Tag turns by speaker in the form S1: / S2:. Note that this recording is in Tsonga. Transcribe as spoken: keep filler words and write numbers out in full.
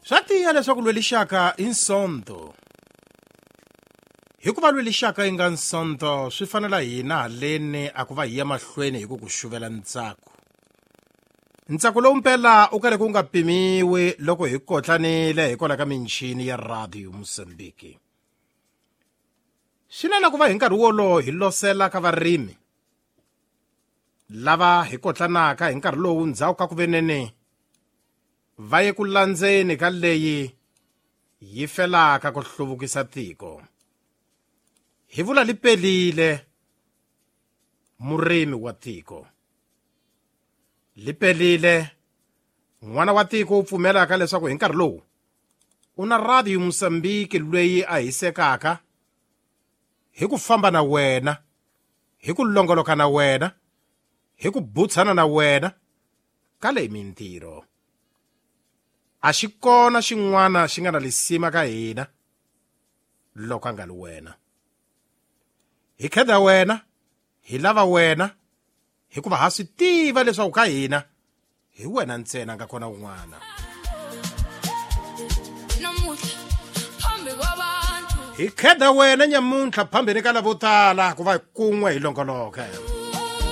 S1: Swa tiya leswaku lwelixaka i nsonto. Hikuva lwelixaka yi nga nsonto swi fanela hina haleni a ku va hi ya mahlweni hi ku ku xuvela ntsako. Ntsako lowu mpela u karhi ku nga pimiwi loko hi kotlanile hikwalaho ka michini ya Radio Mozambique. Swi na ku va hi nkarhi wolowo hi losela ka varimi lava hi kotlanaka hi nkarhi lowu ndzhaku ka ku venene va ye ku landzeni ka leyi yi felaka ku hluvukisa tiko. Hi vula li pelile murimi wa tiko. Li pelile n'wana wa tiko u pfumelaka leswaku hi nkarhi lowu u na Radio Mozambique leyi a hisekaka hi ku famba na wena, hi ku longoloka na wena, hi ku butsana na wena ka leyi mintirho. A xi kona xin'wana xi nga na lisima ka hina loko a nga li wena. Hi kheda wena, hi lava wena, hikuva ha swi tiva leswaku ka hina hi wena ntsena nga kona un'wana. Hi kheda wena nyamuntlha phambeni ka lavo tala ku va kun'we hi longoloka.